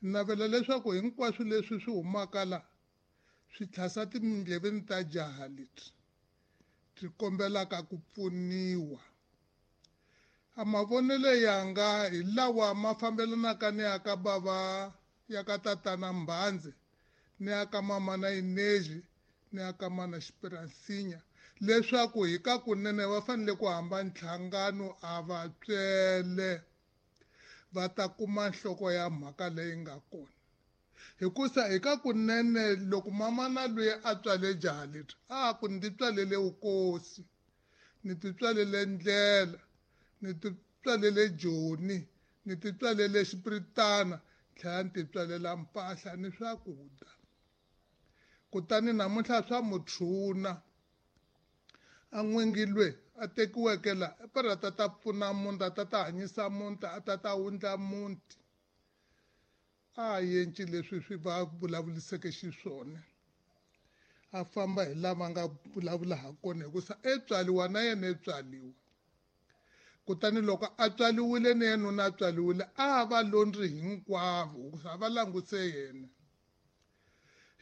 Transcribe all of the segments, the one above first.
Ni navela leswaku hinkwaswo leswi swi humaka la swi tlhasa tindleveni ta jaha lebyi byi kombelaka ku pfuniwa. A mavonelo yanga hi lawa ma fambelanaka ni ya ka bava ya ka tatana Mbhandze ni ya ka mamana Ineji ni ya ka mana Xipiransinya leswaku hi ka kunene va fanele ku hamba nhlangano a va tswele va ta kuma nhloko ya mhaka leyi nga kona. Hikusa hi ka kunene loko mamana loyi a tswale jaha leri a ku ndzi tswalele vukosi, ni ti tswalele ndlela, ni ti tswalele joni, ni ti tswalele xipiritana, tlhela ni ti tswalela mpahla ni swakudya. Kutani namuntlha swa mutshuna a n'wingi lwe a tekiweke la para ta ta pfuna muti, a ta ta hanyisa muti, a ta ta wundla muti. A yenci leswi swi va vulavuliseke xiswona, a famba hi lava nga vulavula ha kona, hikusa e tswaliwa na yena e tswaliwa. Kutani loko a tswaliwile ni yena nuna a tswaliwile, a va londri hinkwavo hikusa a va languse yena.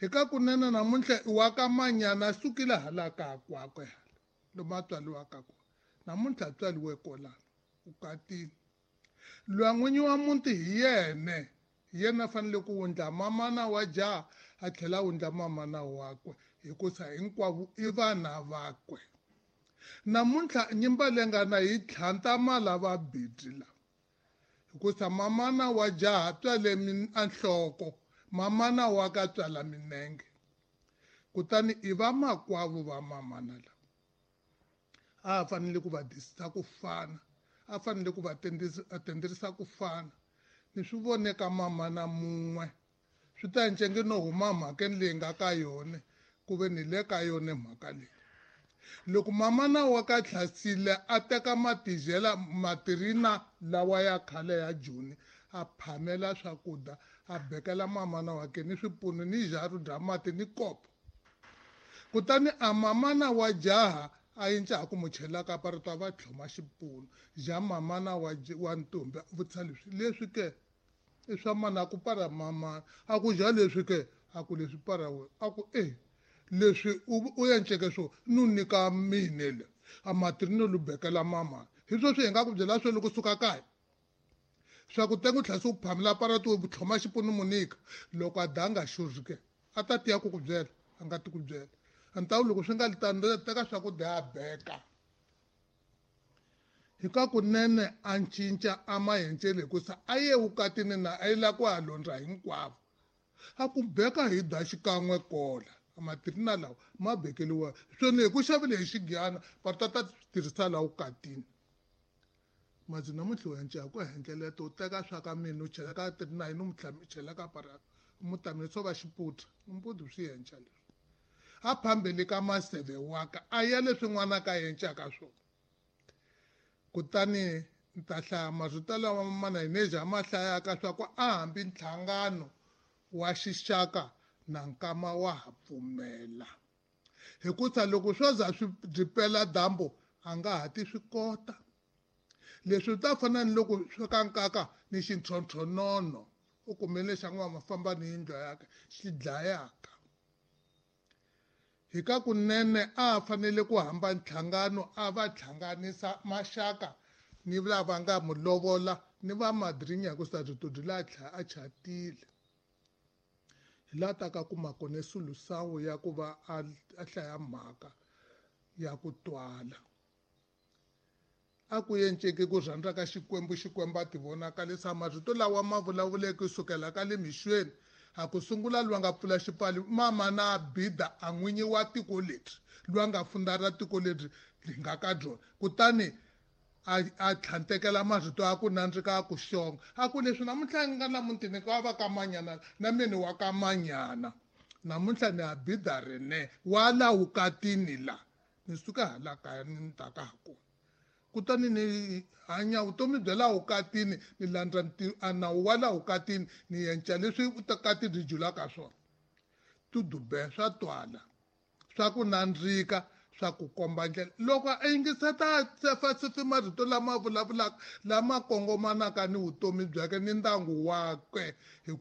Hi ka kunene namuntlha i wa ka manyana a sukile hala ka kwakwe hala lomu a tswaliwaka kona, namuntlha a tswaliwe kolano vukatini. Loyi n'winyi wa muti hi yena, hi yena a fanele ku wundla mamana wa jaha a tlhela a wundla mamana wakwe, hikusa hinkwavo i vana vakwe. Namuntlha nyimba leyi nga na yi tlhanta malava bidi la, hikusa mamana wa jaha tswale a nhloko, mamana wa ka tswala minenge. Kutani i vamakwavo va mamana lava a fanele ku va disisa ku fana, a fanele ku va tenderisa ku fana. Ni swi vone ka mamana mun'we, swi ta ncenge no huma mhakeni leyi nga ka yona, ku ve ni le ka yona mhaka leyi. Loko mamana wa ka Tlhasile a teka matijela matirina lawa ya khale ya Joni, a phamela swakudya, a bekela mamana wa ke ni swipunu ni jaru bya mati ni kopo. Kutani a mamana wa jaha a yinca ha ku mu chela ka parito a va tlhoma xipunu ja mamana wa ntombi, a vutisa leswi, leswi ke i swa mana, a ku para mamana, a ku ja leswi ke, a ku leswi para wena, a ku e leswi u enceke swo nu nyika mine le a matirino lu bekela mamana. Hi sweswi hi nga ku byela swo loko suka kaya swa ku tenga u tlhela se u phamela parati u tlhoma xipunu mu nyika, loko a danga xurhi ke a ta tiya ku ku byela, a nga ti ku byela. A ni ta loko swi nga li tano, ni ta teka swakudya a beka. Hi ka kunene a cinca a ma encele, hikusa a ye vukatini na a yi lava ku ya londza hinkwavo. A ku beka hi da xikan'we kola, a matirina lawa ma bekeliwa swona hi ku xavile hi xigiyana, va ta ta tirhisa laha vukatini. Madzi namuntlha u enca ku endleleto, u teka swa ka mina u chela ka tirina yini, u mu chela ka parata, u mu tamile swo va xiputha, mpudu swi enca leswi. A phambeli ka maseve wa ka, a ya leswi n'wana ka encaka swona. Kutani ni ta hlaya marito lawa mana Ineja ma hlayaka swa ku a hambi nhlangano wa xixaka na nkama wa ha pfumela. Hikusa loko swo za swi byi pela dyambu a nga ha ti swi kota. Leswi ta fana ni loko swi ka nkaka ni xintlhontlhonono, u kumele xa n'wa mafamba ni yindlu yakwe xi dlayaka. Hi ka kunene a fanele ku hamba nhlangano a va hlanganisa maxaka ni lava nga mu lovola ni va madrinya, hikusa rito byi la a chatile. Hi la ta ka kuma kona sulusawu ya ku va a hlaya mhaka ya ku twala. A ku enceke ku rhandza ka Xikwembu, Xikwembu a ti vonakalisa. Marito lawa ma vulavuleke kusukela ka le mixweni, a ku sungula loyi a nga pfula xipfalo, mama na Bida a n'winyi wa tiko leri, loyi a nga fundara tiko leri ri nga ka byona. Kutani a tlhantekela marito ya ku nandzika a ku xonga, a ku leswi namuntlha ni nga la mutini ka va ka manyana na mina wa ka manyana, namuntlha ni a Bida rene wa la vukatini la, ni suka hala kaya ni ta ka ha kona. Kutani ni hanya vutomi bya laha vukatini, ni landza a nawu wa laha vukatini, ni enca leswi vukati byi julaka swona. Tudube swa twala, swa ku nandzika, swa ku komba ndlela. Loko a yingiseta sefasefe marito lama vulavulaka, lama kongomanaka ni vutomi byakwe ni ndyangu wakwe, hikusa